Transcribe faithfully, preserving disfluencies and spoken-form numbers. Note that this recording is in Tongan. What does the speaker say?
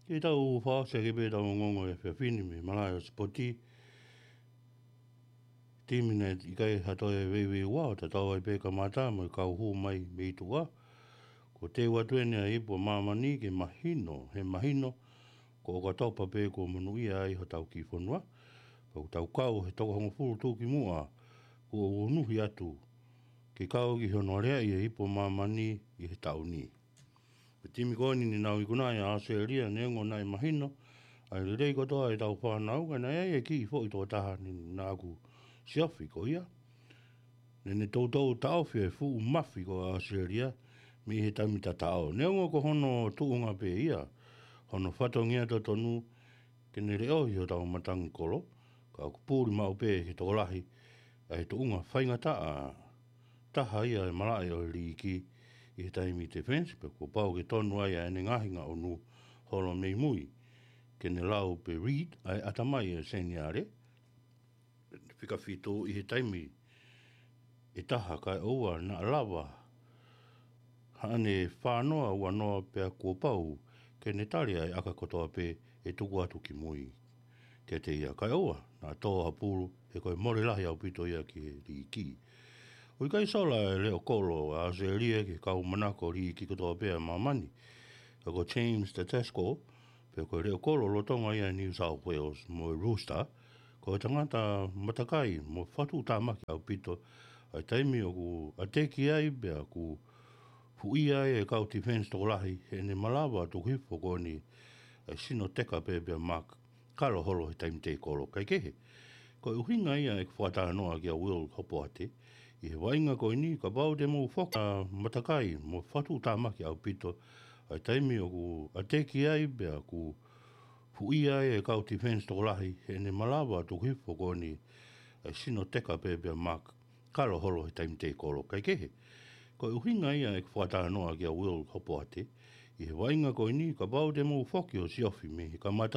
Ke tau fakaʻosi ʻaki pē ʻetau ongoongo ʻo e efiafi ni mei he malaʻe ʻo e sipoti. Timi naʻe ʻikai ha toe veiveiua ʻo tatau ai pē kamata mo e kau hū mai mei tuʻa. Kuo teu atu eni ʻa e ipu ʻa māmani ke mahino, he mahino, ko ʻOkatopa pē kuo monūʻia ai hotau kiʻi fonua. Pea ʻoku tau kau he toko hongofulu tuʻukimuʻa kuo unuhi atu ke kau ki hono aleaʻi e ipu ʻa māmani ʻi he taʻu ni. Pea timi ko eni naʻa nau ikuna ai ʻa ʻAositelēlia, neongo naʻe mahino ʻa e lelei kotoa ʻetau fānau, ka naʻe ʻi ai e kiʻi foʻi tokotaha naʻa ku siofi ko ia. Naʻa ne toutou taʻofi e fuʻu mafi ko ʻAositelēlia mei he taimi tataʻo. Neongo ko hono tuʻunga pē ia hono fatongia totonu ke ne leʻohi hotau matangi kolo, ka ʻoku puli maʻu pē ki he tokolahi ʻa e tuʻunga faingataʻa taha ia ʻa e malaʻe ʻo e liiki ʻi he taimi defense, pea kuo pau ke tonu ai ʻa ʻene ngaahi ngaʻunu holo mei mui ke ne lau pē Reid ʻa e ʻatamai ʻa e seniale. Fika fitu ʻi he taimi ʻe taha kae ʻoua naʻa lava haʻane fānoa uanoa pea kuo pau ke ne tali ʻa e ʻaka kotoa pē ʻe tuku atu ki mui kiate ia, kae ʻoua naʻa tō ha pulu, he ko e mole lahi ʻaupito ia ki he liiki. ʻOku ʻikai sola e leʻo kolo ʻa ʻAositelēlia ki he kau manako liiki kotoa pē ʻa māmani, ka ko James Tedesco, pea ko e leʻo kolo lolotonga ia ʻa New South Wales mo e Rooster, ko e tangata matakai mo fatuʻutāmaki ʻaupito ʻa e taimi ʻoku ʻateki ai pea ʻoku fuʻia ai e kau defense tokolahi, heʻene malava tuku hifo ko eni ʻa e sino teka pē pea Mark Kalo holo he taimi tei kolo. Kaikehe, ko e ʻuhinga ia ʻeku fakatalanoa kia Will Hopoate ʻi he vaʻinga ko eni, kapau te mou foki ʻa matakai mo fatuʻutāmaki ʻaupito ʻa e taimi ʻoku ʻateki ai pea ʻoku fuʻia ai e kau defense tokolahi, heʻene malava tuku hifo ko eni ʻa e sino teka pē pea Mark Kalo holo he taimi tei kolo. Kaikehe, ko e ʻuhinga ia ʻeku fakatalanoa kia Will Hopoate ʻi he vaʻinga ko eni, kapau te mou foki ʻo siofi mei he kamata